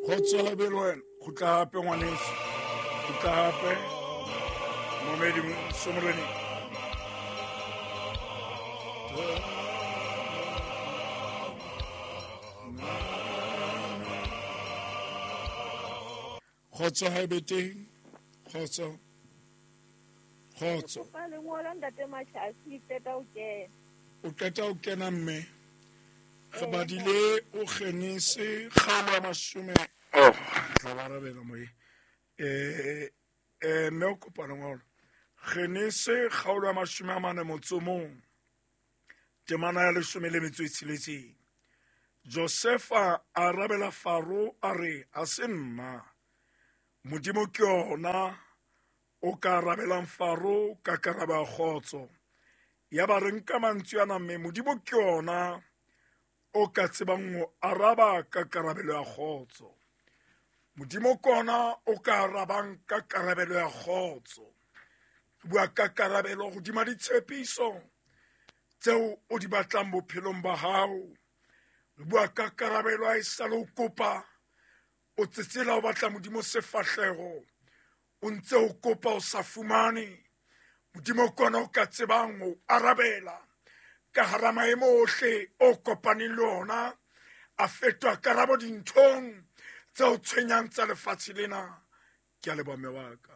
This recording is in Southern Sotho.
Kgotso habe le wena. Kgutla hape ngwaneso. Kgutla hape. Momedi Somoreneng. Kgotso ha ebe teng. Kgotso. Kgotso. Kopa lengolo ntate Mashasi qeta ho kena. O qeta ho kena mme. Re badile o Genese kgaolo ya mashome. Oh, tla ba arabela moye. Eh eh mme o kopa lengolo. Genese kgaolo ya 41. Temana ya 16. Josefa a arabela Faro a re, a se nna. Modimo ke ona o ka arabelang Faro ka karabo ya kgotso. Ya ba re nka mantswe ana mme Modimo ke ona o ka tsebang ho araba ka karabelo ya kgotso. Modimo ke ona o ka arabang ka karabelo ya kgotso. Re bua ka karabelo hodima ditshepiso tseo o di batlang bophelong ba hao. Re bua ka karabelo ha e sale o kopa, o tsetsela o batla Modimo sefahleho, o ntse o kopa o sa fumane. Modimo ke ona o ka tsebang ho arabela ka hara maemo ohle o kopaneng le ona, a fetoha karabo dinthong tse o tshwenyang tsa lefatshe lena. Ke a leboha mme wa ka.